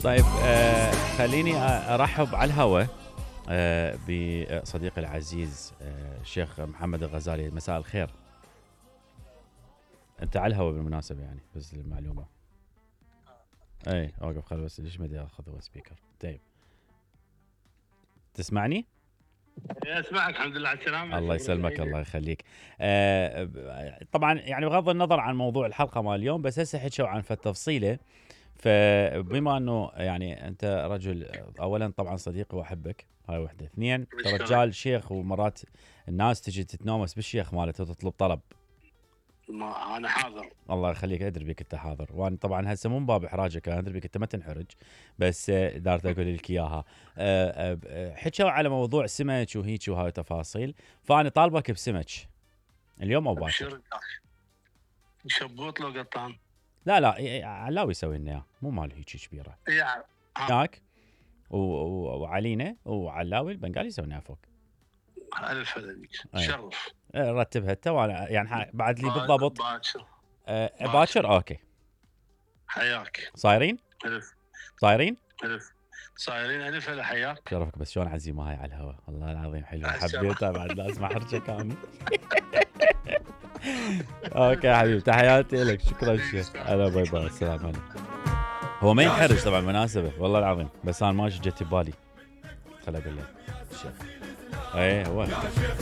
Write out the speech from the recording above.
طيب خليني ارحب على الهواء بصديقي العزيز الشيخ محمد الغزالي. مساء الخير. انت على الهواء بالمناسبه يعني بس للمعلومه. اي اوقف خل بس ليش ما ادري اخذ سبيكر. طيب تسمعني؟ اسمعك الحمد لله على السلامه. الله يسلمك الله يخليك. طبعا يعني بغض النظر عن موضوع الحلقه مال اليوم، بس هسه حكوا عن تفصيله. فبما انه يعني انت رجل اولا طبعا صديقي واحبك، هاي وحده. اثنين انت رجال شيخ، ومرات الناس تجي تتنومس بالشيخ مالته وتطلب طلب. ما انا حاضر. الله يخليك، ادري بك انت حاضر، وانا طبعا هسه مو من باب احراجك، انا ادري بك انت ما تنحرج، بس دارت اقول لك اياها. حكوا على موضوع سمك وهيك وهاي تفاصيل، فانا طالبك بسمك اليوم او باكر. شبوط لو قطان؟ لا علاوي يسوي لنا اياه، مو مال هيك كبيره. ياك وعلينا وعلاوي البنغالي يسوي لنا فوق. الف هذيك شرف. رتبها انت، وانا يعني بعد لي بالضبط باكر. اوكي حياك. صايرين الف صايرين الف هلا حياك. شرفك. بس شلون عزيمه هاي على الهواء، والله العظيم حلوه حبيتها بعد لا اسمع حرجك انا. اوكي يا حبيبي، تحياتي لك، شكرا شيخ. هلا باي باي، السلام عليكم. هو ما ينحرج طبعا مناسبه والله العظيم، بس انا ما جت ببالي. خل اقول لك الشيخ. ايه هو